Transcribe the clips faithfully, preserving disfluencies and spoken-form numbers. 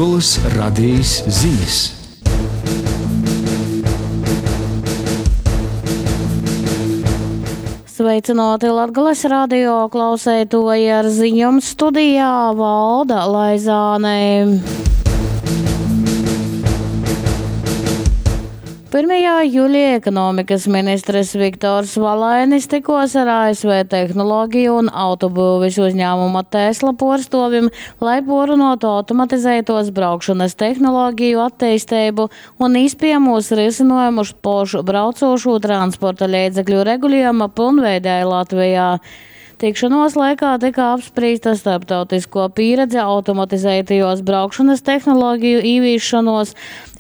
Latgolys Radejis zinis. Sveicināti Latgales radio klauseitoji ar ziņom studijā Valda Laizāne. pirmajā jūlijā ekonomikas ministrs Viktors Valainis tikos ar A S V tehnoloģiju un autobūvis uzņēmuma Tesla porstovim, lai porunotu automatizētos braukšanas tehnoloģiju attīstību un iespējamos risinājumus pošu braucošo transporta līdzekļu regulējuma pilnveidē Latvijā. Tikšanos laikā tika apspriesta starptautisko pieredze automatizētajos braukšanas tehnoloģiju īvīšanos,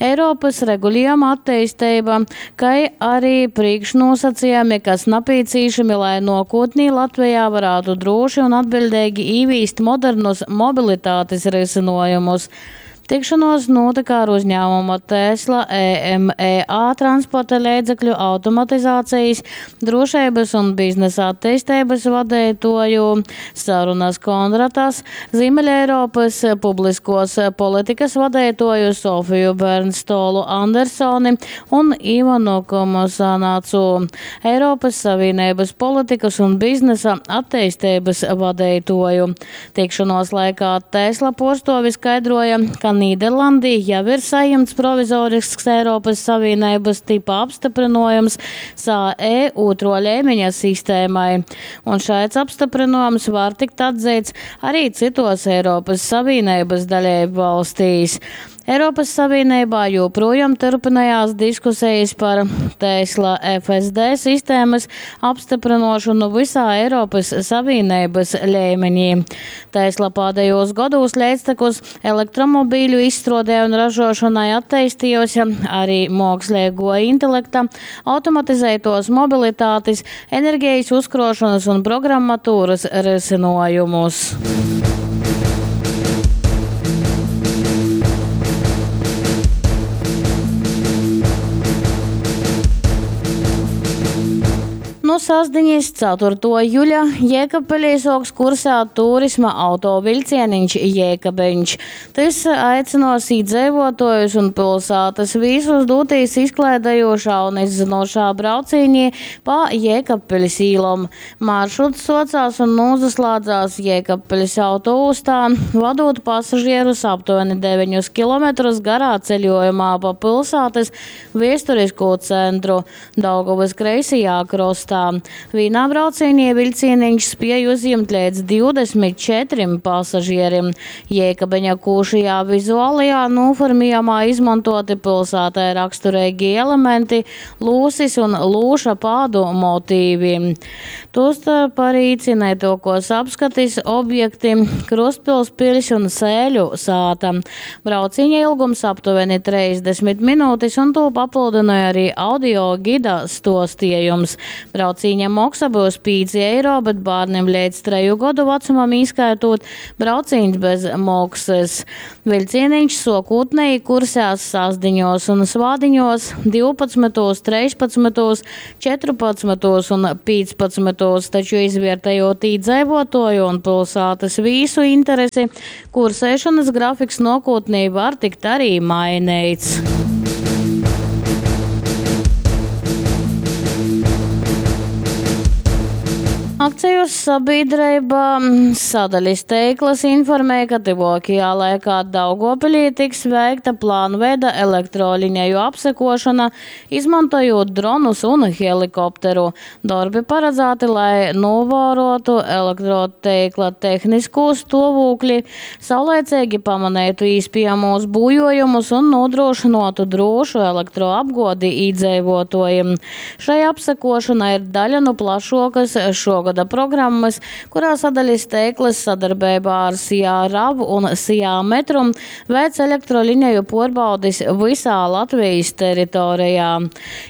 Eiropas regulējuma attīstība, kā arī priekšnosacījumi, kas nepieciešami, lai nākotnē Latvijā varētu droši un atbildīgi īvīst modernus mobilitātes risinājumus. Tikšanos notika ar uzņēmuma Tesla E M E A transporta līdzekļu automatizācijas, drošības un biznesa attīstības vadītāju Sarunas Kondratas, Ziemeļeiropas publiskos politikas vadītāju Sofiju Bernstolu Andersoni un Ivanu Komosanacu, Eiropas Savienības politikas un biznesa attīstības vadītāju. Tikšanos laikā Tesla porstovi skaidroja, ka Nīderlandī jau ir saņemts provizorisks Eiropas Savienības tipa apstiprinājums S A E otro līmeņa sistēmai. Un šāds apstiprinājums var tikt atzīts arī citos Eiropas Savienības dalību valstīs. Eiropas Savienībā joprojām turpinājās diskusijas par Tesla F S D sistēmas apstiprināšanu visā Eiropas Savienības līmenī. Tesla pēdējos gados līdztekus elektromobīļu izstrādē un ražošanai attīstījusi arī mākslīgo intelekta, automatizētos mobilitātes, enerģijas uzkrošanas un programmatūras risinājumus. Nu sasdiņas ceturto juļa Jēkabpilī soks kursā turisma autovilcieniņš Jēkabiņš. Tas aicinos iedzīvotājus un pilsētas visus doties izklaidējošā un izzinošā braucienī pa Jēkabpiļas īlom. Maršruts socās un nozaslēdzās Jēkabpiļas autoostā, vadot pasažierus aptuveni deviņus kilometrus garā ceļojumā pa pilsētas viesturisko centru Daugavas kreisajā krostā. Vienā braucienī vilcieniņš spēja uzņemt līdz divdesmit četriem pasažierim. Jēkabiņa kūšajā vizuālajā noformējumā izmantoti pilsētai raksturīgi elementi, lūsis un lūša pādu motīvi. Tostarp arī cienētokos apskatis objekti Krustpils piļs un Sēļu sāta. Brauciņa ilgums aptuveni trīsdesmit minūtes un to papildināja arī audio gida stostījums. Brauciņa moksa būs pieci eiro, bet bērniem līdz treju gadu vecumam īskaitot brauciņš bez moksas. Vilcieniņš sokūtnēji kursēs sasdiņos un svādiņos divpadsmitos, trīspadsmitos, četrpadsmitos un piecpadsmitos, taču izvērtējot iedzīvotāju un pilsētas vīsu interesi, kursēšanas grafiks nākotnē var tikt arī mainīts. Akciju sabiedrība sadaļas teiklas informēja, ka tuvākajā laikā Daugavpilī tiks veikta plānveida elektrolineju apsekošana, izmantojot dronus un helikopteru. Darbi paredzēti, lai novērotu elektroteikla tehnisko stāvokli, saulēcīgi pamanītu iespējamos būjojumus un nodrošinātu drošu elektroapgādi iedzīvotājiem. Šai apsekošana ir daļa no plašākas šogad programmas, kurā sadaļas teiklas sadarbībā ar S I A R A V un S I A Metrum veic elektrolineju pārbaudis visā Latvijas teritorijā.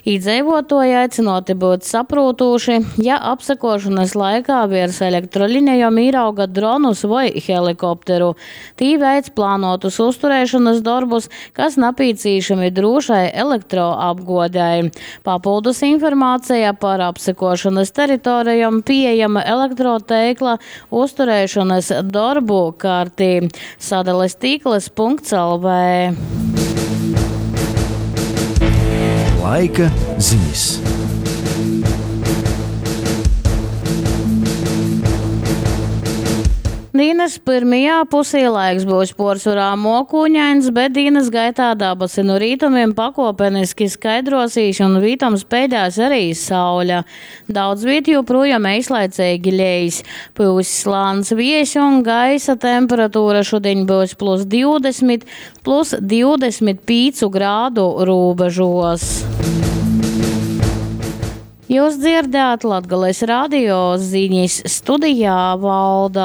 Iedzīvotāji aicināti būt saprotoši, ja apsekošanas laikā virs elektrolinejām ierauga dronus vai helikopteru. Tī veic plānotus uzturēšanas darbus, kas nepieciešami drošai elektroapgādei. Papildus informācija par apsekošanas teritorijām pieejama pieejama elektroteikla uzturēšanas dorbu kartī sadales tīkls punkts L V. Laika ziņas. Dienas pirmajā pusē laiks būs porcelāna mokūņains, bet dienas gaitā dabasi no rītumiem pakopeniski skaidrosīs un vītam spēdēs arī saule. Daudz viet joprojām eislaicīgi lejas. Pūs slāns viejs un gaisa temperatūra šodien būs plus divdesmit, plus divdesmit pīcu grādu robežos. Jūs dzirdējāt Latgales radio ziņas studijā Valda.